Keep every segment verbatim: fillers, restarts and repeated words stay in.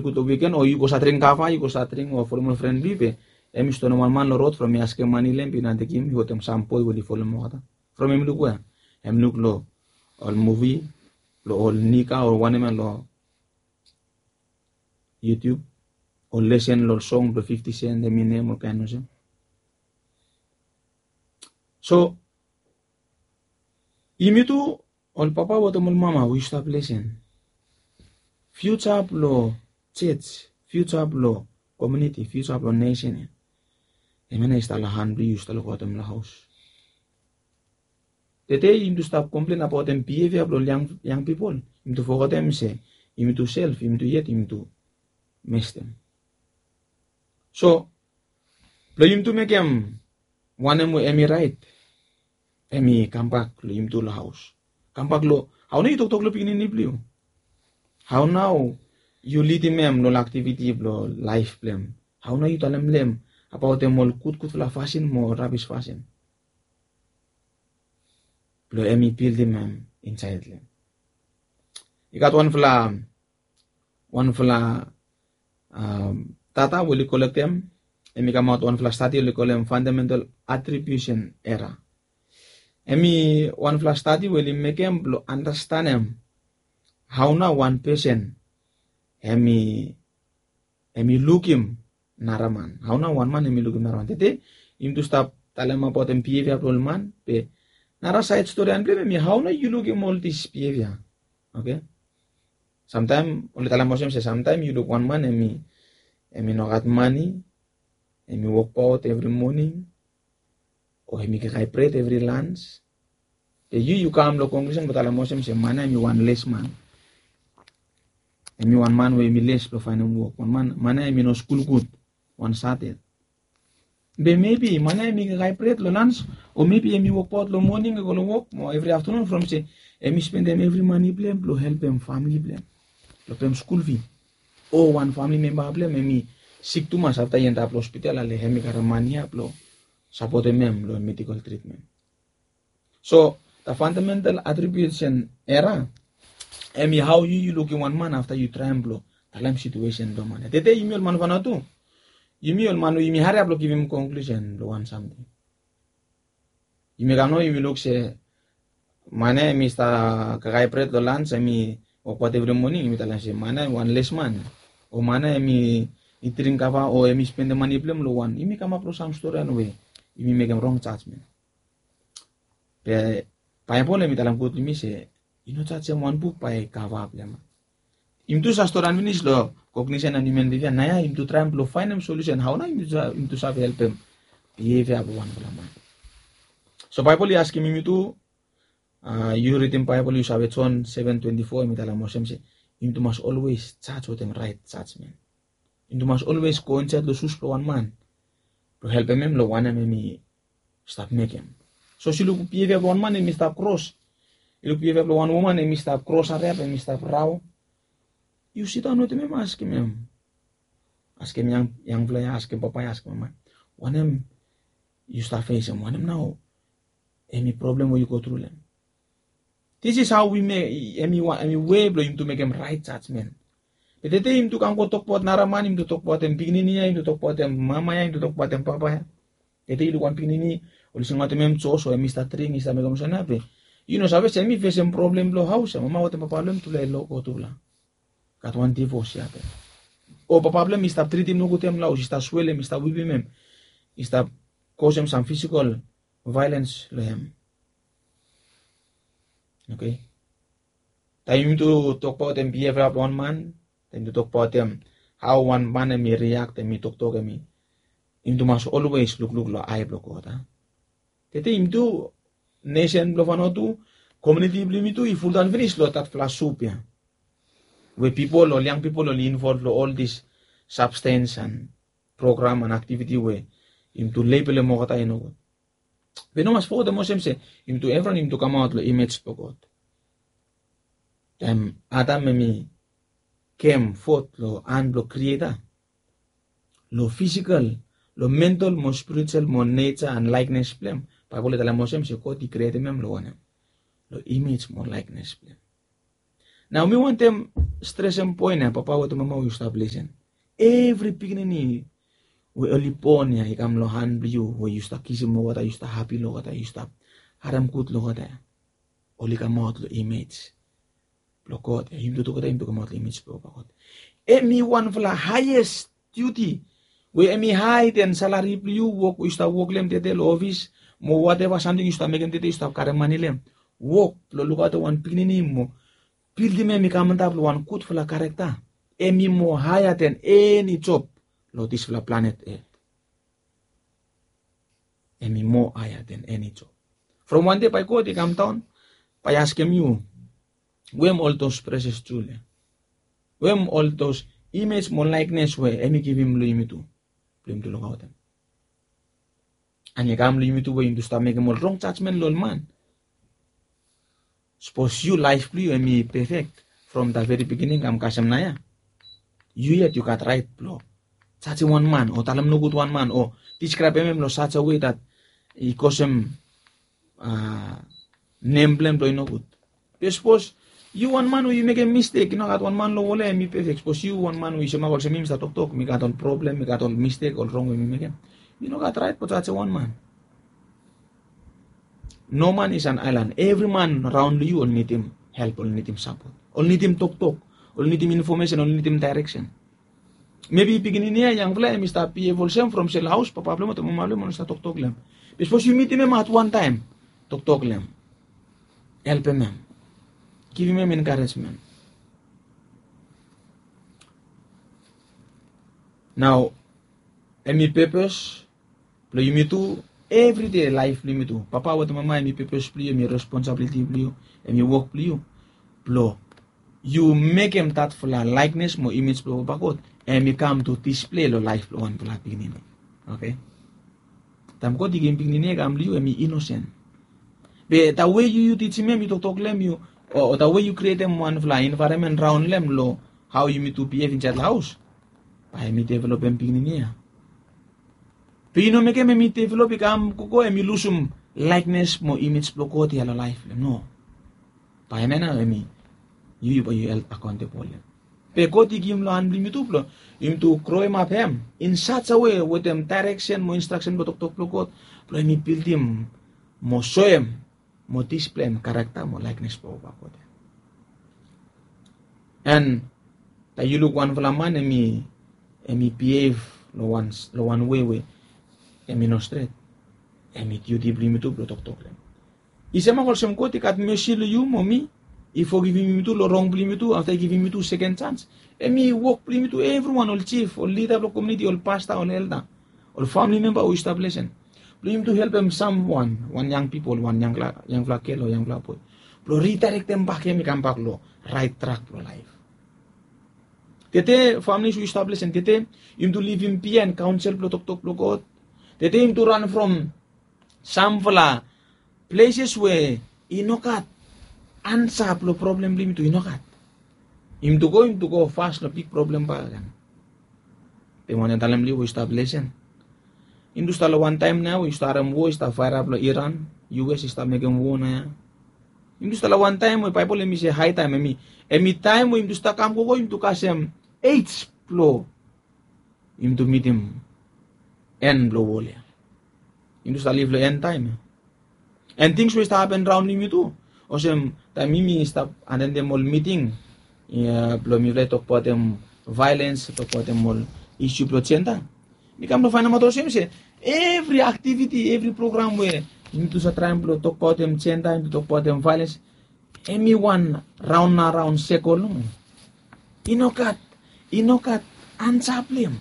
Gud long wiken, o yu go stat dring kava, yu go stat dring o folem ol fren blong yu be hemi stonem wan man long rod from i askem mane long hem blong i nao tekem i wetem sam boe we oli folem olgeta. From hemi luk wea? Hemi luk long ol muvi blong ol nika o wanem ya long YouTube, ol lesen long ol song blong Fifty Cent, Eminem, olkaen olsem. So yumi tu ol papa wetem ol mama we yu stap lesen, fiuja blong jej, fiuja blong komuniti, fiuja blong nesen ya, hemia nao i stap long han blong yu, yu stap lukaotem long haos. Tede yumi tu stap komplen abaotem bihevia blong ol yang pipol. Yumi tu fogetem se yumi tu self, yumi tu yet yumi tu mestem. So blong yumi tu mekem wanem we hemi raet, hemi kambak long yumi tu long haos. Kambak long hao nao yu toktok long pikinini blong yu, hao nao yu lidim hem long ol aktiviti blong laef blong hem, hao nao yu talem long hem abaotem ol gudgudfala fasin mo rabis fasin blong hemi bildim hem insaed long hem. I gat wanfala wanfala data we oli kolektem, hemi kamaot wanfala stadi oli kolem fundamental attribution era. Hemi wanfala stadi we oli mekem blong andastanem hao nao wan pesen hemi hemi lukim nara man, hao nao wan man hemi lukim nara man. Tede yumi tu stap talem abaotem bihevia blong ol man, be nara saed storian blong hem hemi hao nao yu lukim ol dis bihevia. Oke, samtaem oli talem olsem se samtaem yu luk wan man hemi hemi no gat mane, hemi wokbaot evri moning, o hemi kakae bred evri lans, be yu yu kam long konklusen blong talem olsem se man ya hemi wan les man, hemi wan man we hemi les blong faenem wok, wan man man ya hemi no skul gud, wan sated. Be mebi man ya hemi kakae bred long lans, o mebi hemi wokbaot long moning i go long wok mo evri aftanun, from se hemi spendem evri mane blong hem blong helpem famili blong hem, blong pem skul fi, o wan famili memba blong hem hemi sik tumas afta i endap long hospital, ale hemi karem mane ya blong sapotem hem long medikol tritmen. So the fundamental attribution era, hemi hao yu yu lukim wan man afta yu traem blong talem situesen blong man ya. Tede yumi ol man of Vanuatu, yumi ol man we yumi hariap blong givim konklusen blong wan samting. Yumi kam nao yumi luk se man ya hemi stap kakae bred long lans, hemi wokbaot evri moning, yumi talem se man ya hemi wan les man, o man ya hemi dring kava, o hemi spendem mane blong hem long wan, yumi kamap long sam storian we yumi mekem rong jajmen. Be Baebol hemi talem gud long yumi se i no jajem wan buk bae kava blong hem. Yumi tu save storian finis long kognisen an hiuman bihevia, naoia yumi tu traem blong faenem solusen hao nao yumi tu save helpem bihevia blong wanfala man. So Baebol i askem yumi tu, yu ridim Baebol yu save Jon seven twenty-four hemi talem olsem se yumi tu mas olwes jaj wetem raet jajmen. Yumi tu mas olwes go insaed long sus blong wan man blong helpem hem long wanem hemi stap mekem. Sapos yu luk bihevia blong wan man hemi stap kros, yu luk bihevia blong wan woman hemi stap kros hariap, hemi stap rao, yu sidaon wetem hem, askem hem, askem yangfala ya, askem papa ya, askem mama ya, wanem yu stap fesem, wanem nao hemi problem we yu go tru long hem. This is how we make, hemi wei blong yumi tu mekem raet jajmen. Be tede yumi tu kam go tokbaot nara man, yumi tu tokbaotem pikinini ya, yumi tu tokbaotem mama ya, yumi tu tokbaotem papa ya. Tede yu luk wan pikinini oli singaotem hem jos, o hemi stap dring, i stap mekem olsem ya, be yu no save se hemi fesem problem blong haos ya, mama wetem papa blong hem tufala i logo tufala. Gat wan divos ya be, o papa blong hem i stap tritim nogud hem long haos, i stap swelem, i stap wipim hem, i stap kosem sam fisikol vaelens long hem. Oke, taem yumi tu tokbaotem bihevia blong wan man, taem yumi tu tokbaotem hao wan man hemi riak, hemi toktok, hemi, yumi tu mas olwes lukluk long ae blong God. Tede yumi tu, nesen blong Vanuatu, komuniti blong yumi tu i fuldaon finis long datfala sup ya, we pipol, ol yang pipol oli involv long ol dis sabstens an program an aktiviti we yumi tu lebelem olgeta i nogud. Be yu no mas fogetem olsem se yumi tu evriwan yumi tu kamaot long imej blong God. Taem Adam hemi kem fot long han blong Krieta, long fisikol, long mental mo spiritual mo neja an laeknes blong hem, Baebol i talem olsem se God i krietem hem long wanem? Long imej mo laeknes blong hem. Nao mi wantem stresem poen ya, papa wetem mama we yu stap lisen. Evri pikinini we oli bon ya i kam long han blong yu, we yu stap kisim olgeta, yu stap hapi long olgeta, yu stap harem gud long olgeta ya. Oli kamaot long image blong God ya. Yumi tu tugeta yumi tu kamaot long image blong Papa God. Hem i wanfala highest duty we hem i higher than salary blong yu, wok we yu stap wok long hem tede long ofis, mo whatever samting yu stap mekem tede, yu stap karem mane long hem. Wok blong lukaotem wan pikinini mo bildim hem i kam antap long wan gudfala character, hem i moa higher than eni job long disfala planet Earth. Hem i moa higher than eni job. From wande bae God i kamdaon, bae i askem yu, we hem ol dos precious jewel ya? We hem ol dos image mo likeness we hem i givim long yumitu, blong yumitu lukaotem? An i kam long yumitu we yumitu stap mekem ol rong jajmen long ol man. Sapos yu laef blong yu hem i perfect from the very beginning kam kasem naoia, yu yet yu gat raet blong jajem wan man o talem nogud wan man o diskraebem hem long such a way that i kosem nem blong hem blong i nogud. Be sapos yu wan man we yu mekem mistek, i no gat wan man long wol ya hem i perfect. Sapos yu wan man we yu semak olsem mi, mi stap toktok, mi gat ol problem, mi gat ol mistek, ol rong we mi mekem, mi no gat raet blong jajem wan man. No man is an island. Evri man raon long yu oli nidim help, oli nidim sapot, oli nidim toktok, oli nidim infomesen, oli nidim daereksen. Mebi pikinini ya, yangfala ya, hem i stap bihev olsem from sel haos, papa blong hem wetem mama blong hem oli stap toktok long hem. Be sapos yu mitim hem at wan taem, toktok long hem, helpem hem, givim hem encouragement. Nao hem i purpose blong yumitu, evri dei laef blong yumitu. Papa wetem mama, hem i purpose blong yu, hem i responsibility blong yu, hem i wok blong yu, blong yu mekem datfala likeness mo image blong Papa God hem i kam to display long laef blong wanfala pikinini. Oke. Taem God i givim pikinini ya i kam long yu, hem i innocent. Be the way yu, yu tijim hem, yu toktok long hem, yu, o the way yu krietem wanfala environment raon long hem long hao yumitu bihev insaed long haos, bae hem i developem pikinini ya. Be yu no mekem hem i develop, i kam gogo, hem i lusum likeness mo image blong God ya long laef blong hem, no. Bae hemia nao hem i, yu, yu bae yu held accountable long hem. Be God i givim long han blong yumitu blong yumitu groemap hem in such a way wetem daereksen mo instraksen blong toktok blong God, blong hem i bildim mo soem mo display hem character mo likeness blong Papa God ya. An taem yu luk wanfala man hem i, hem i bihev long wan, long wan wei we hem i no stret, hem i duty blong yumitu blong toktok long hem. I semak olsem God i gat mesi long yu mo mi, i fogivim yumitu long rong blong yumitu, afta i givim yumitu seken jans. Hem i wok blong yumitu, evriwan, ol jif, ol lida blong komuniti, ol pasta, ol elda, ol famili memba we yu stap lisen, blong yumitu helpem samwan, wan yang pipol, wan yangfala, yangfala gel o yangfala boe, blong ridaerektem bak hem i kambak long raet trak blong laef. Tede, familis we yu stap lisen, tede yumitu livim biaen kaonsel blong toktok blong God. Tede yumitu ran from samfala pleses we i no gat ansa blong problem blong yumitu, i no gat. Yumitu go, yumitu go fas long big problem bakegen. Be mi wantem talem long yu we yu stap lisen, yumitu stap long wan taem nao we yu stap harem wo i stap faerap long Iran, U S i stap mekem wo naoia. Yumitu stap long wan taem we Baebol hem i se hae taem, hem i, hem i taem we yumitu stap kam gogo, yumitu kasem ej blong yumitu mitim en blong wol ya. Yumitu stap liv long en taem ya. An tings we i stap hapen raon long yumitu, olsem taem mi, mi stap atendem ol miting ya blong mifala i tokbaotem violens, tokbaotem ol isu blong jenda, mi kam blong faenemaot olsem se evri aktiviti, evri program we yumitu stap traem blong tokbaotem jenda, yumitu tokbaotem violens, hem i wan raon na raon sekol nomo. I no gat, i no gat ansa blong hem.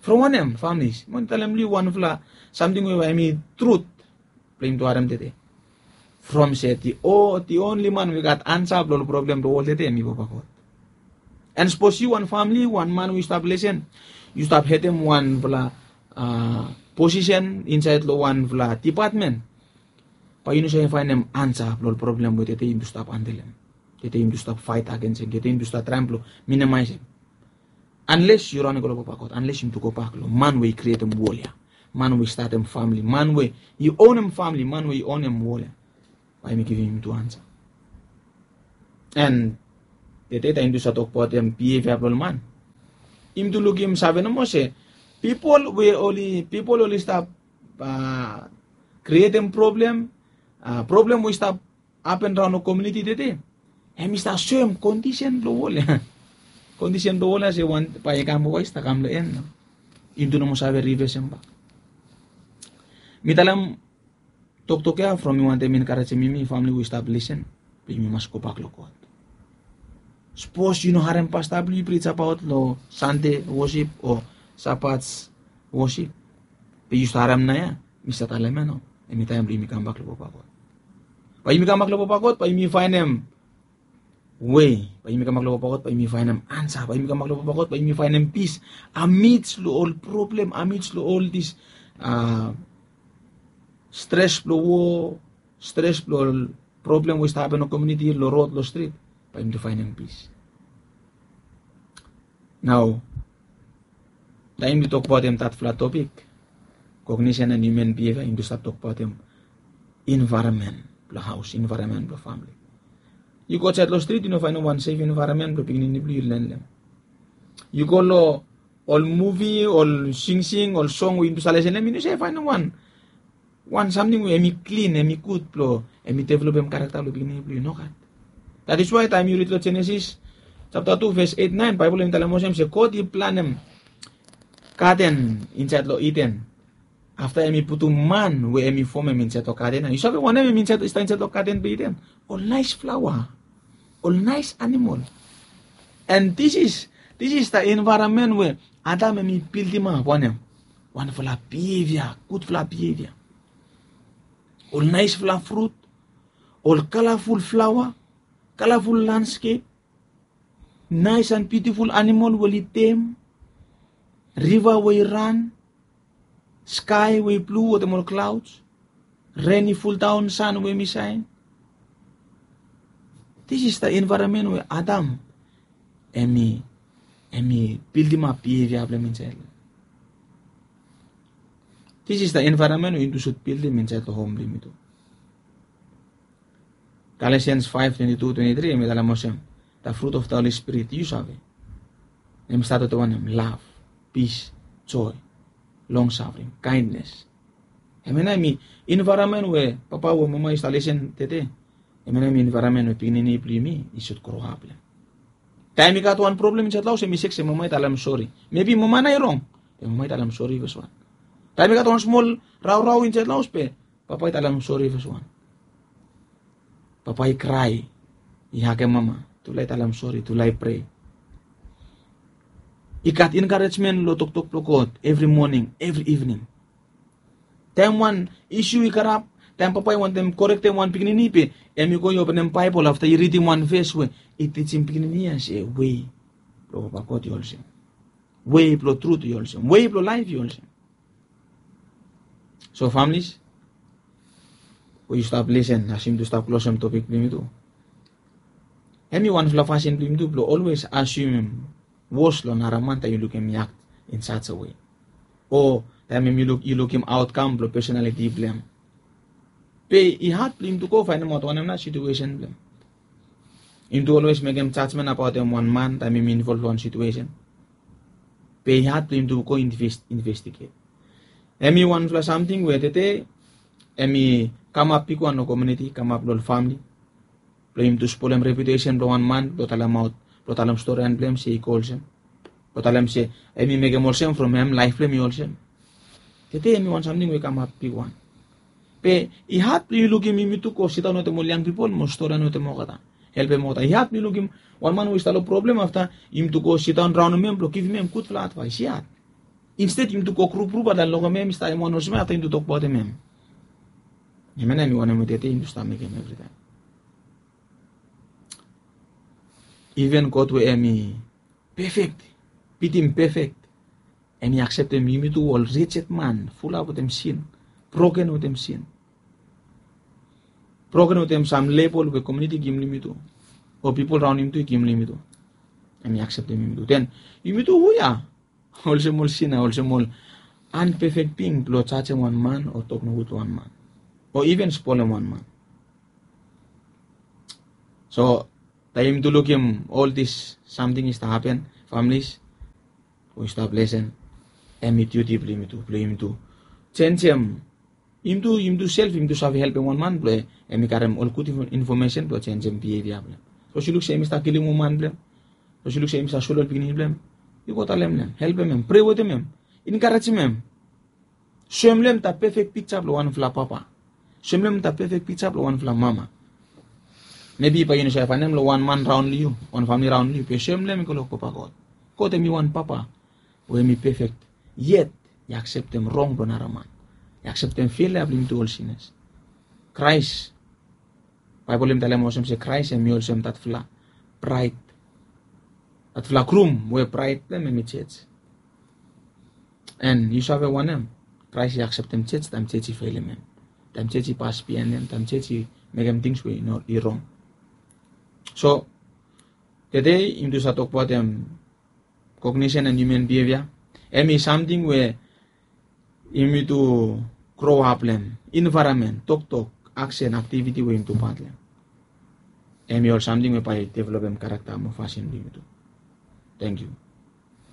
From wanem, familis? Mi wantem talem long yu wanfala samting we bae hem i trut blong yumitu harem tede. From se the o-, the only man we i gat ansa blong ol problem blong wol tede hem i Papa God. An sapos yu wan famili, wan man we yu stap lisen, yu stap hedem wanfala posisen insaed long wanfala depatmen, bae yu no save faenem ansa blong ol problem we tede yumitu stap handelem, tede yumitu stap faet agens hem, tede yumitu stap traem blong minimaisim. Anles yu raon i go long Papa God, anles yumitu gobak long man we i krietem wol ya, man we i statem famili, man we i onem famili, man we i onem wol ya, bae hem i givim yumitu ansa. And tede taem yumi tu stap tokbaot hem bievia blong ol man, yumi tu lukim save nomo se pipol we oli pipol oli stap krietem problem, problem we i stap hapen raon long komuniti tede, hem i stap soem kondisen blong wol ya. Kondisen blong wol ya se wan bae i kam waes ta kam long en. Yumi tu nomo save rivesem bak. Mi talem toktok ya from mi wantem enkarejem yumi famili we i stap lisen, blong yumi mas gobak long God. Sapos yu no harem pasta blong yu prij abaot long Sande wosip o Sabat wosip, be yu stap harem nao ya, mi stap talem ya nao, hem i taem blong yumi kambak long papa God. Bae yumi kambak long papa God, bae yumi faenem wei, bae yumi kambak long papa God, bae yumi faenem ansa, bae yumi kambak long papa God, bae yumi faenem pis amidst long ol problem, amidst long ol dis stres blong wo, stres blong ol problem we i stap hapen long komuniti, long rod, long strit, bae yumi tu faenem pis. Nao taem yumi tu tokbaotem tatfala topik, kognisen and hiuman bievia, yumi tu stap tokbaotem envaeronmen blong haos, envaeronmen blong famili. Yu go aotsaed long strit, yu no faenem wan sef envaeronmen blong pikinini blong yu len long hem. Yu go long ol muvi, ol singsing, ol song we yumi tu stap lisen long hem, yu no save faenem wan wan samting we hem i klin, hem i gud blong hem i developem karakta blong pikinini blong yu, nogat. That is why taem yu rid long Jenesis japta tu ves eit naen, Baebol hem i talem olsem se God i planem gaden insaed long Iden. Afta hem i putum man we hem i fomem insaed long gaden ya. Yu save wanem hem i stap insaed long gaden blong Iden? Ol naes flaoa, ol naes animol. And this is, this is the environment we Adam hem i bildimap wanem? Wanfala behavior, gudfala behavior. Ol naesfala frut, ol kalaful flaoa, kalaful landskep, naes and biutiful animol we oli tem, riva we i ran, skae we i blu wetem ol klaods, ren i fuldaon, san we hem i saen. This is the environment we Adam hem i, hem i bildimap behavior blong hem insaed long hem. This is the environment we yumi tu should bildim insaed long hom blong yumi tu. Galatians five twenty-two, twenty-three hem i talem olsem, the fruit of the Holy Spirit, yu save. Hem i stat wetem wanem? Love, peace, joy, long suffering, kindness. Hemia nao hem i environment we papa we mama yu stap lisen tede, hemia nao hem i environment we pikinini blong yumi i should grow up long hem. Taem i gat wan problem insaed long haos, hem i sek se mama i talem sori. Maybe mama nao i rong, be mama i talem sori fes wan. Taem i gat wan smol raorao insaed long haos, be papa i talem sori fes wan. Papa i krae, i hagem mama, tufala i talem sori, tufala i prea. I gat encouragement long toktok blong God evri moning, evri ivning. Taem wan issue i karap, taem papa i wantem korektem wan pikinini, be hem i go i openem Baebol afta i ridim wan ves we i tijim pikinini ya se wei blong Papa God i olsem, wei blong trut i olsem, wei blong laef i olsem. So families we yu stap lisen, as yumi tu stap klosem topik blong yumi tu, hem i wanfala fasin blong yumi tu blong olwes asumem wos long nara man taem yu lukim hem i act in such a way, o taem hem yu lukim outcome blong personality blong hem. Be i had blong yumi tu go faenemaot wanem nao situesen blong hem. Yumi tu olwes mekem jajmen abaotem wan man taem hem i involv long wan situesen. Be i had blong yumi tu go investiget. Hem i wanfala samting we tede hem i kamap bigwan long komuniti, kamap long ol famili, blong yumi tu spolem reputesen blong wan man blong talemaot, blong talem storian blong hem se i go olsem, blong talem se hem i mekem olsem from hem laef blong hem i olsem. Tede hem i wan samting we i kamap bigwan. Be i had blong yu lukim yumi tu go sidaon wetem ol yang pipol mo storian wetem olgeta, helpem olgeta. I had blong yu lukim wan man we i stap long problem, afta yumi tu go sidaon raonem hem blong givim hem gudfala advaes. I had. Insted yumi tu go grup grup, afta longem hem i stap hem wan olsem ya, afta yumi tu tokbaotem hem. Hemia nao hem i wanem we tede yumi tu stap mekem evritaem. Iven God we hem i pefek, bitim pefek, hem i akseptem yumi tu ol wretched man, fulap wetem sin, broken wetem sin, broken wetem sam lebol we komuniti i givim long yumi tu, o pipol raon yumi tu i givim long yumi tu. Hem i akseptem yumi tu. Den yumi tu, hu ya? Olsem ol sina, olsem ol anpefek bing blong jajem wan man o tok nogud long wan man o iven spolem wan man. So Taem yumi tu lukim ol dis samting i stap hapen, families, we i stap lesen, hem i diuti blong yumi tu, blong yumi tu jenjem. Yumi tu, yumi tu sef, yumi tu save helpem wan man blong hem i karem ol gud info-, infomesen blong jenjem bievia blong hem. Sapos yu luk se hem i stap kilim woman blong hem, sapos yu luk se hem i stap solem ol pikinini blong hem, yu go talem long hem, helpem hem, prea wetem hem, enkarejim hem. Soem long hem dat pefek pikja blong wanfala papa. Soem long hem dat pefek pikja blong wanfala mama. Mebi bae yu no save faenem long wan man raon long yu, wan famili raon long yu, be soem long hem i go long Papa God. God hem i wan papa we hem i pefek, yet i akseptem rong blong nara man. I akseptem felea blong yumi tu ol sinas. Kraes, Baebol hem i talem olsem se Kraes hem i olsem datfala braet, datfala grum we braet blong hem hem i jej. And yu save wanem? Kraes i akseptem jej taem jej i felim hem, taem jej i pas biaen hem, taem jej i mekem tings we i no, i rong. So tede yumi tu save tokbaot hem, cognition and human behavior. Hem i samting we yumi tu grow up long hem, environment, toktok, aksen, aktiviti we yumi tu pat long hem. Hem i ol samting we bae i developem karakta mo fasin blong yumi tu. Tangkiu.